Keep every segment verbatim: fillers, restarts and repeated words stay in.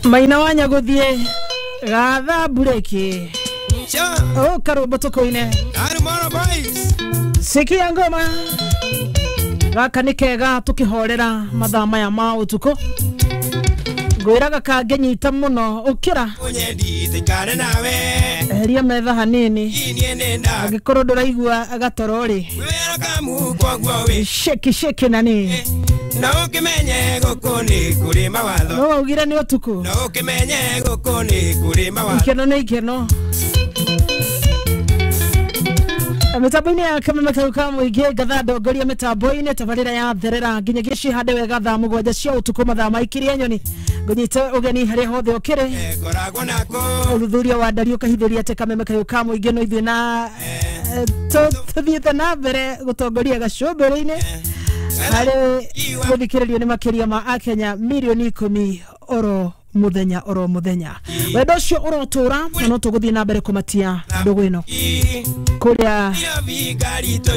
Maina wa Nyaguthie gatha bureki o karũmbo tũkũine. Sikia ngoma gaka nĩ kega tũkĩhorera mathaa maya ma ũtukũ. Ngwĩraga kangĩnyita mũno ũkĩra eheria metha hanini angĩkorwo ndũraigua gatoro rĩ sheki sheki nani na ukimenye guku ni kuri mawatho no waugire ni utuku na ukimenye guku ni kuri mawatho ikeno ni ikeno. Mitambo-inĩ ya Kameme kau ka mũingĩ ngatha ndongoria mitambo-inĩ tabarĩra ya therera nginyagia cihande wega thaa mũgwanja cia ũtukũ mathaa maikirie nyoni ngũnyite ũgeni harĩa hothe ũkĩrĩ. Ũthuthuria wa ndari ũkahithũria atĩ Kameme kau ka mũingĩ no ithuĩ na tũthiĩte na mbere gũtongoria gacũmbĩrĩ-inĩ harĩ gũthikĩrĩrio nĩ makĩria ma akenya mirioni ikũmi oro muthenya oro muthenya. Wendo ũcio ũrotũra na no tũgũthiĩ na mbere kũmatia ndũgũ ĩno kũrĩa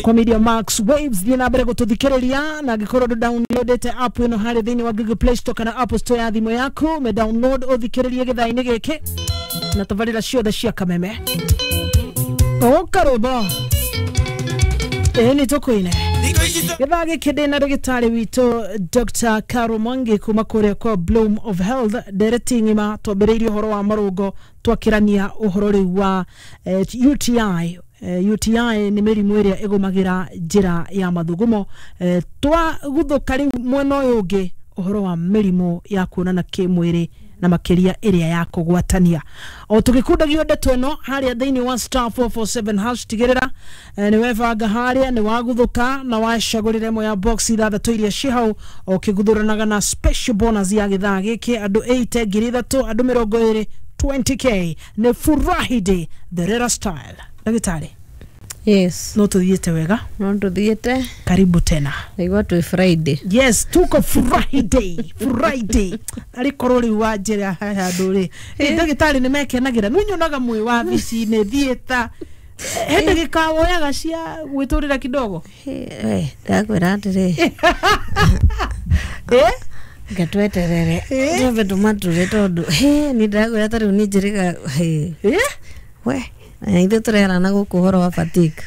kwa Media Max Waves. Thiĩ na mbere gũtũthikĩrĩria na angĩkorwo ndũ downloadĩte app ĩno harĩ thĩinĩ wa Google Play Store kana Apple Store ya thimũ yaku me download ũthikĩrĩrie gĩthaa-inĩ gĩkĩ na tabarĩra ciothe cia Kameme. Ũkarũmbo ĩĩ nĩ tũkũine gĩthaa gĩkĩ ndĩ na ndagĩtarĩ witũ Doctor Caro Mwangi kuma kũrĩa kwa Bloom of Health. Ndereti ng'ima twambĩrĩirie ũhoro wa marũngo twakĩrania ũhoro rĩu wa eh, U T I. Eh, U T I nĩ mĩrimũ ĩrĩa ĩgũmagĩra njĩra ya mathugumo. Eh, twaguthũka rĩu mwena ũyũ ũngĩ ũhoro wa mĩrimũ ya kuonana kĩmwĩrĩ na makĩria ĩrĩa ya kũgwatania. O tũgĩkundagio ndeto ĩno harĩa thĩinĩ wa star four four seven hash tigĩrĩra eh, nĩ webanga harĩa nĩ waguthuka na wacagũrĩra ĩmwe ya box ithathatũ iria ci hau ũkĩguthũranaga na special bonus ya gĩthaa gĩkĩ andũ eight ngiri ithatũ andũ mĩrongo ĩrĩ twenty k nĩ Furahi Day the rera style. Ndagĩtarĩ, Yes. no tuthiĩte wega. No tuthiĩte. Karibu tena. Naigua twĩ Friday. Yes, tuko Friday. Friday. Arĩ korwo rĩu wa njĩra handũ rĩ. Ndagĩtarĩ nĩ mekenagĩra. Nĩ nyonaga mwĩ wabici-inĩ theatre. He ndagĩka woyaga cia gwĩtũrĩra kidogo. Eh, ndakwĩra atĩrĩ. Eh? Ngatweterere. Twambe tũmature tondũ he nĩ ndakwĩra ta rĩu nĩ njĩrĩga he. Eh? We. Ithuĩ tũrerana gũkũ ũhoro wa fatigue.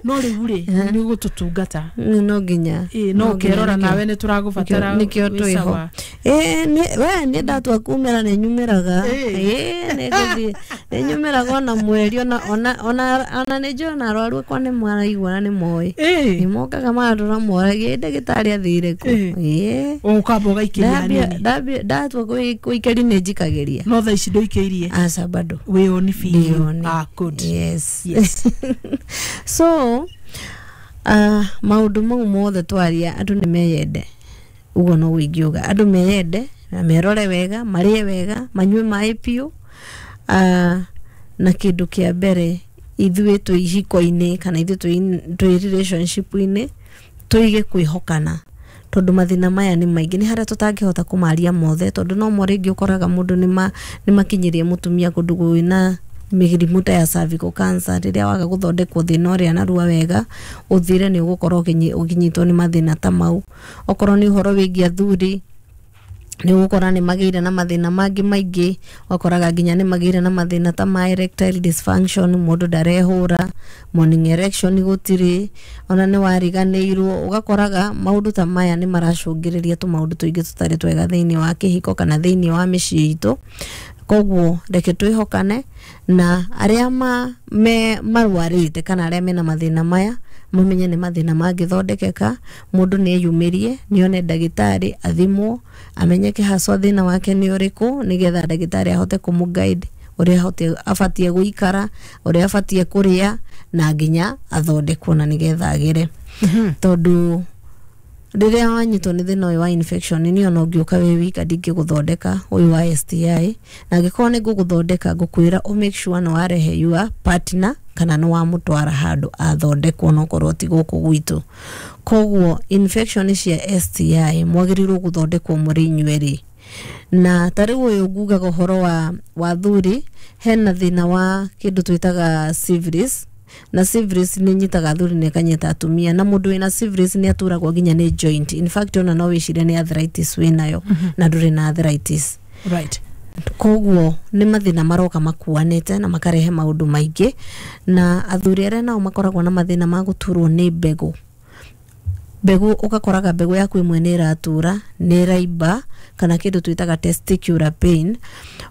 No rĩu rĩ nĩ ũgũtũtungata. No nginya. No ũkerora nawe nĩ tũragũbatara. Nĩkĩo twĩho. Ĩĩ we nĩ ndatua kumĩra nĩ nyumĩraga. Ĩĩ nĩ ngũthiĩ nĩ nyumĩraga ona mweri ona ona ona ona nĩ njũĩ ona arwaru akwa nĩ maraigua na nĩ moĩ. Nĩ mokaga magatũra moragia ndagĩtarĩ athire kũ. Ĩĩ. Ũkamba ũgaikĩria hanini. Ndambia ndatua kũikaria nĩ njikagĩria. No thaa ici ndũikĩirie. Aca bado. Wĩoni biũ. Ah, good. Yes. Yes. So, uh, maũndũ mau mothe twaria andũ nĩ meyende. Ũguo no ingiuga andũ meyende na merore wega, marĩe wega, manyue maĩ biũ. Uh, na kĩndũ kĩa mbere ithuĩ twĩ ihiko-inĩ kana ithuĩ twĩ relationship-inĩ tũige kwĩhokana tondũ mathĩna maya nĩ maingĩ nĩ harĩa tũtangĩhota kũmaria mothe tondũ no mo rĩngĩ ũkoraga mũndũ nĩ makinyĩrie mũtumia kũndũ kwĩna mĩrimũ ta ya cervical cancer rĩrĩa waga gũthondekwo thĩna ũrĩa narua wega ũthire nĩ ũgũkorwo ũkĩnyitwo nĩ mathĩna ta mau. Okorwo nĩ ũhoro wĩgiĩ athuri nĩ ũgũkora nĩ magĩire na mathĩna mangĩ maingĩ, ũgakoraga nginya nĩ magĩire na mathĩna ta ma erectile dysfunction, mũndũ ndarehũra, morning erection gũtirĩ, ona nĩ wariganĩirwo. Ũgakoraga maũndũ ta maya nĩ maracũngĩrĩria tũmaũndũ tũingĩ tũtarĩ twega thĩinĩ wa kĩhiko kana thĩinĩ wa mĩciĩ itũ. Koguo reke twĩhokane na arĩa ma me marwarĩte kana arĩa mena mathĩna maya mamenye nĩ mathĩna mangĩthondekeka. Mũndũ nĩ eyumĩrie nĩone ndagĩtarĩ athimwo amenyeke haswa thĩna wake nĩ ũrĩkũ nĩgetha ndagĩtarĩ ahote kũmũ guide ũrĩa abatiĩ gũikara, ũrĩa abatiĩ kũrĩa na nginya athondekwo na nĩgetha agĩre. Tondũ rĩrĩa wanyitwo nĩ thĩna ũyũ wa infection nĩ ona ũngĩũka wĩ wika ndingĩgũthondeka ũyũ wa S T I, na angĩkorwo nĩ ngũgũthondeka ngũkwĩra ũ make sure nĩ warehe your partner kana nĩ wamũtwara handũ athondekwo no korwo ti gũkũ gwitũ. Koguo infection cia S T I mwagĩrĩirwo gũthondekwo mũrĩ inyuerĩ. Na ta rĩu ũyũ ngugaga ũhoro wa wa thuri hena thĩna wa kĩndũ twĩtaga syphilis. Na syphilis nĩ nyitaga athuri na ĩkanyita atumia, na mũndũ wĩna syphilis nĩ aturagwo nginya nĩ joint. In fact, ona no wĩcirie nĩ arthritis wĩnayo na ndũrĩ na arthritis. Right koguo nĩ mathĩna maroka makuanĩte na makarehe maũndũ maingĩ. Na athuri arĩa nao makoragwo na mathĩna ma gũturwo nĩ mbegũ, mbegũ ũgakoraga mbegũ yaku ĩmwe nĩ ĩratura, nĩ ĩraimba, kana kĩndũ twĩtaga testicular pain.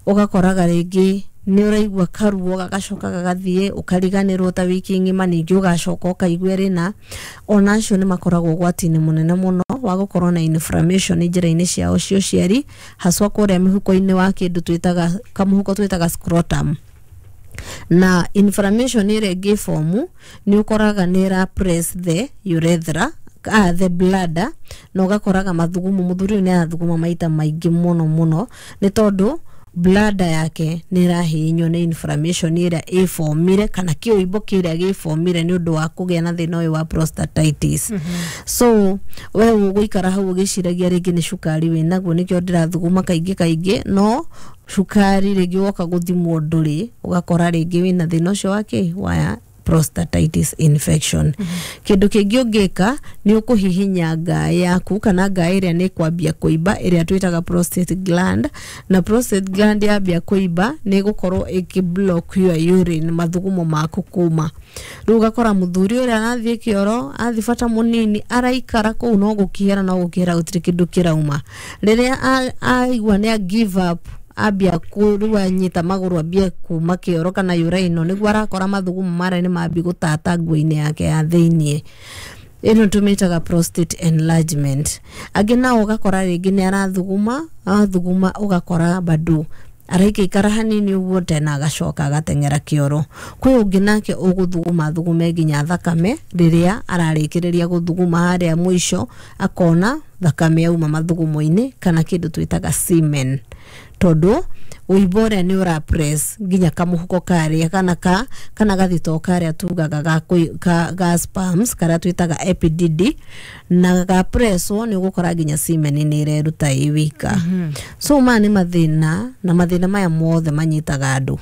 Ũgakoraga rĩngĩ nĩ ũraigua karuo gagacoka gagathiĩ, ũkariganĩrwo ta wiki ng'ima, ningĩ ũgacoka ũkaigua rĩna. Ona acio nĩ makoragwo ũgwati-inĩ mũnene mũno wa gũkorwo na inflammation njĩra-inĩ ciao cia ũciari, haswa kũrĩa mĩhuko-inĩ wa kĩndũ twĩtaga kamũhuko twĩtaga scrotum. Na inflammation ĩrĩa ĩngĩbomu nĩ ũkoraga nĩ ĩra press the urethra, ah, the bladder, na ũgakoraga mathugumo, mũthuri ũyũ nĩ arathuguma maita maingĩ mũno mũno, nĩ tondũ bladder yake nĩ ĩrahihinywo nĩ inflammation ĩrĩa ĩbomire kana kĩũimbo kĩrĩa gĩbomire nĩ ũndũ wa kũgĩa na thĩna ũyũ wa prostatitis. So we ũgũikara hau ũgĩciragia rĩngĩ nĩ cukari wĩnaguo, nĩkĩo ndĩrathuguma kaingĩ kaingĩ, no cukari rĩngĩ woka gũthimwo ndũrĩ, ũgakora rĩngĩ wĩna thĩna ũcio wa kĩ wa prostatitis infection. Kĩndũ kĩngĩ ũngĩka nĩ ũkũhihinya ngaĩ yaku kana ngaĩ ĩrĩa nĩ kwambia kũimba, ĩrĩa twĩtaga prostate gland. Na prostate gland yambia kũimba nĩ ĩgũkorwo ĩkĩ block your urine, mathugumo maku kuma. Rĩu ũgakora mũthuri ũrĩa arathiĩ kĩoro, athiĩ bata mũnini, araikara kũu no gũkĩhera no gũkĩhera, gũtirĩ kĩndũ kĩrauma. Rĩrĩa a- aigua nĩ a give up, ambia rĩu anyita magũrũ ambie kuma kĩoro kana uraino, nĩguo arakora mathugumo marĩa nĩ mambi gũtata nguo-inĩ yake ya thĩiniĩ. Ĩno tũmĩtaga prostate enlargement. Angĩ nao ũgakora rĩngĩ nĩ arathuguma, athuguma ũgakora bado araikaikara hanini ũguo tena agacoka agateng'era kĩoro. Kwĩ ũngĩ nake ũgũthuguma thugume nginya thakame, rĩrĩa ararĩkĩrĩria gũthuguma harĩa mũico akona thakame yauma mathugumo-inĩ kana kĩndũ twĩtaga semen, tondũ ũimbo ũrĩa nĩ ũra press nginya kamũhuko karĩa kana ka kana gathito karĩa tugaga ga, kũi- ka, ga sperms karĩa twĩtaga epididy, na ga presswo nĩ ũgũkora nginya semen nĩ ĩreruta ĩ wika. So maya nĩ mathĩna, na mathĩna maya mothe manyitaga andũ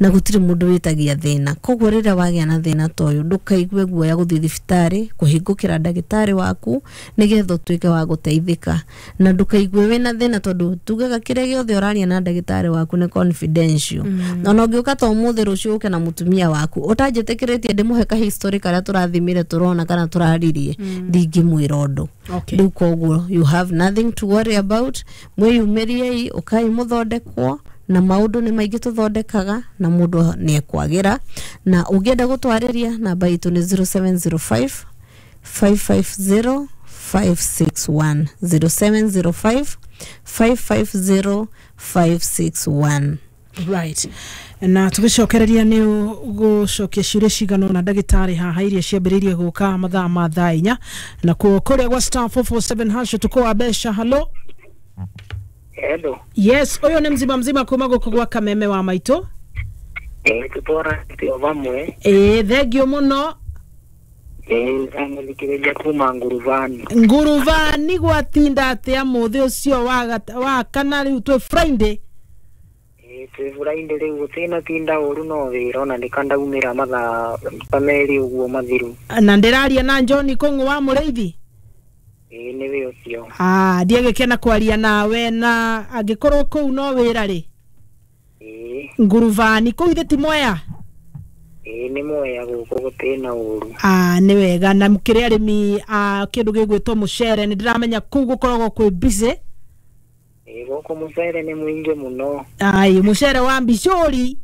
na gũtirĩ mũndũ wĩtagia thĩna. Koguo rĩrĩa wagĩa na thĩna ta ũyũ, ndũkaigue guoya gũthiĩ thibitarĩ kũhingũkĩra ndagĩtarĩ waku nĩgetha ũtuĩke wa gũteithĩka, na ndũkaigue wĩna thĩna, tondũ tugaga kĩrĩa gĩothe ũraria na ndagĩtarĩ waku nĩ confidential mm. Ona ũngĩũka ta ũmũthĩ, rũciũ ũke na mũtumia waku ũtanjĩtĩkĩrĩtie ndĩmũhe ka history karĩa tũrathimire, tũrona kana tũraririe, ndingĩmwĩra ũndũ. Okay. Rĩu koguo you have nothing to worry about. Mwĩyumĩriei, ũkai mũthondekwo, na maũndũ nĩ maingĩ tũthondekaga na mũndũ nĩ ekwagĩra. Na ũngĩenda gũtwarĩria, namba itũ nĩ zero seven zero five five five zero five six one, zero seven zero five five five zero five six one. Right, na tũgĩcokereria nĩ gũcokia ciũria cigana ũna ndagĩtarĩ haha iria ciambĩrĩirie gũka mathaa ma thaa inya na kuo kũrĩa gwa star four four seven hash. Ũtukũ wa mbeca, halo. Hello. Yes, ũyũ nĩ mzima mzima kuma gũkũ gwa Kameme wa maitũ. Eh, tutwaranĩte o vamwe. Ĩĩ, thengio mũno. Eh, amũthikĩrĩria kuma Nguruvani. Nguruvani gwatinda atĩa mũthĩ ũcio wa gata- wa kana rĩu twĩ Friday? Eh, twĩ Friday rĩu gũtirĩ tinda ũru, no wĩra ona nĩkandaumĩra mathaa ta merĩ ũguo mathiru. Na ndĩraria na John Kũng'ũ wa Mũrĩithi? Eh, nĩwe ũcio. Ah, ndiagĩkena kwaria nawe, na angĩkorwo kũu no wĩra rĩ. Eh, Nguruvani kũu ithe ti Mwea? Eh, nĩ Mwea gũkũ, gũtirĩ na ũru. Ah, nĩ wega. Na mũkĩrĩ arĩmi a kĩndũ gĩgwĩtwo mũcere, nĩ ndĩramenya kũu gũkoragwo kwĩ busy. Eh, gũkũ mũcere nĩ mũingĩ mũno. Ai, mũcere wa mbicũri.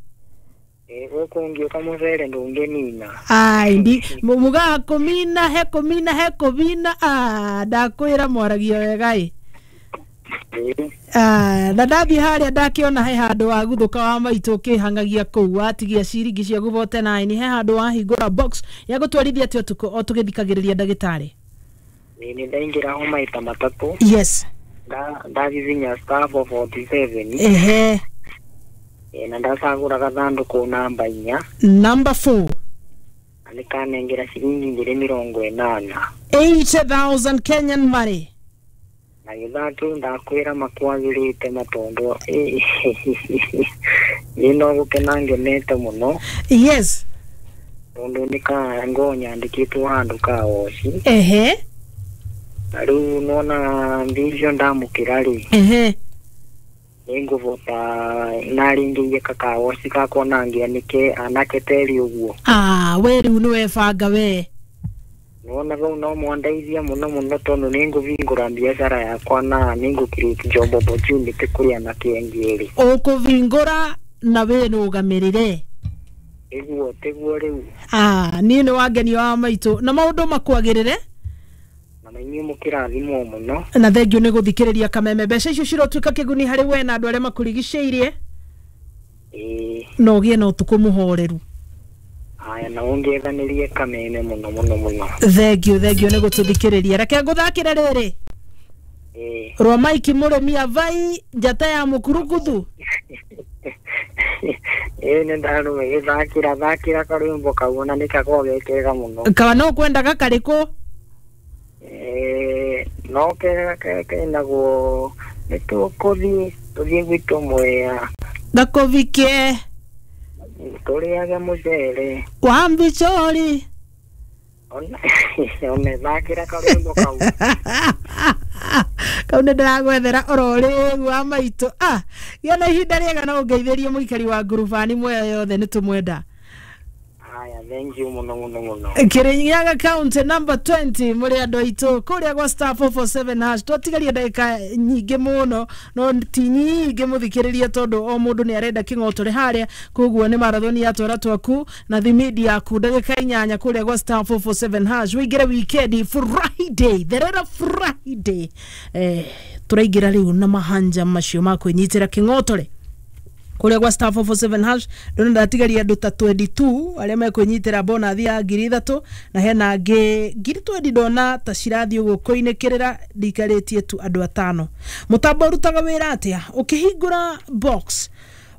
Eh, gũkũ ũngĩũka mũcere ndũngĩnina. Ai, ndi mu- mugaga kũmina he kũmina he kũmina. Ah, ndakwĩra mwaragia wega ĩ. Eh, Ah, na ndathiĩ harĩa ndakĩona he handũ waguthũka wa maitũ ũkĩhangagia kũu watigia ciringi ciaku bote nine, he handũ wahingũra box ya gũtwarithia atĩ ũtukũ o tũgĩthikagĩrĩria ndagĩtarĩ. Eh, nĩ ndaingĩra ho maita matatũ. Yes. Nda- ndagiginya star four forty-seven. Ehe. Eh, na ndacagũra gathandũkũ namba inya. Number four. Na nĩkanengera ciringi ngiri mĩrongo ĩnana. eighty thousand Kenyan money. Na gĩthaa kĩu ndakwĩra makwagĩrĩte matondũ niĩ no gũkena ngenete mũno. Yes. Tondu nĩ ka ngo nyandĩkĩtwo handũ ka woci. Ehe. Na rĩu nona mbia icio ndamũkĩra rĩ, Ehe. nĩngũbota narĩngĩirie kakawoci gakwa na ngĩanĩke anake teri ũguo. Ah, we rĩu nĩ webanga we. Nona vau no mwandeithia mũno mũno tondũ nĩngũvingũra biacara yakwa na nĩngũ create job opportunity kũrĩ anake angĩ erĩ. Ũkũvingũra na wĩrũgamĩrĩre. Ĩguo tiguo rĩu. Ah, niĩ nĩ wangenio wa maitũ na maũndũ makwagĩrĩre. Na inyuĩ mũkĩrathimwo mũno. Na thengio nĩ gũthikĩrĩria Kameme. Mbeca icio cirotuĩka kĩguni harĩ we na andũ arĩa makũrigicĩirie. Ĩĩ. Na ũgĩe na ũtukũ mũhoreru. Haya, na ũngethanĩrie Kameme mũno mũno mũno. Thengio, thengio nĩ gũtũthikĩrĩria. Reke ngũthakĩre rĩrĩ. Ĩĩ. Rwa Mike Mũrĩmi Avai njata ya mũkuruguthu. Ĩĩ nĩ ndarũme gĩthakĩra thakĩra karwĩmbo kau na nĩkakoragwo ge kega mũno. Kana no kwendaga karĩkũ? Ĩĩ no kega kenagwo nĩ tũkũthiĩ tũthiĩ gwitũ Mwea. Gakũvikie. Tũrĩage mũcere. Wa mbichori. Ona one thakĩra karwĩmbo kau. Kau nĩ ndĩragwethera oro rĩu wa maitũ. Ah, gĩa na ihinda rĩega na ũngeithĩrie mũikari wa ngurubani Mwea yothe nĩ tũmwenda. Haya, thank you mũno mũno mũno. Kirinyaga County number twenty mũrĩ andũ aitũ kũrĩa gwa star four four seven hash. Twatigaria ndagĩka nyingĩ mũno no ti nyingĩ mũthikĩrĩria tondũ o mũndũ nĩ arenda kĩng'otore harĩa, koguo nĩ marathoni ya twara twaku na thimidi yaku ndagĩka inyanya kũrĩa gwa star four four seven hash. Wĩingĩre weekend Friday, therera Friday. Eh, tũraingĩra rĩu na mahanja macio ma kwĩnyitĩra kĩng'otore kũrĩa gwa star four four seven hash. Ndona ndatigaria andũ ta twenty-two arĩa mekwĩnyitĩra bonathi ya ngiri ithatũ na hena angĩ ngiri twenty ndona ta cirathiĩ ũguo kũinĩkĩrĩra ndikarĩtie tu andũ atano. Mũtambo ũrutaga wĩra atĩa? Ũkĩhingũra box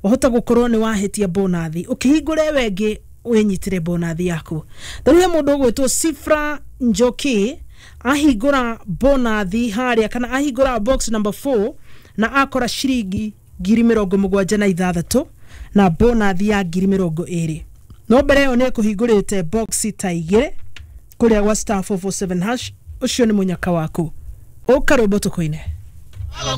wahota gũkorwo nĩ wahĩtia bonathi, ũkĩhingũra ĩyo ĩngĩ wĩnyitĩre bonathi yaku. Rĩu he mũndũ ũgwĩtwo Sifra Njoki ahingũra bonathi harĩa kana ahingũra box number four na akora ciringi ngiri mĩrongo mũgwanja na ithathatũ na bonathi ya ngiri mĩrongo ĩrĩ. No mbere ĩyo nĩ ekũhingũrĩte box ta igĩrĩ kũrĩa gwa star four four seven hash. Ũcio nĩ mũnyaka waku. Ũka rwĩmbo tũkũine.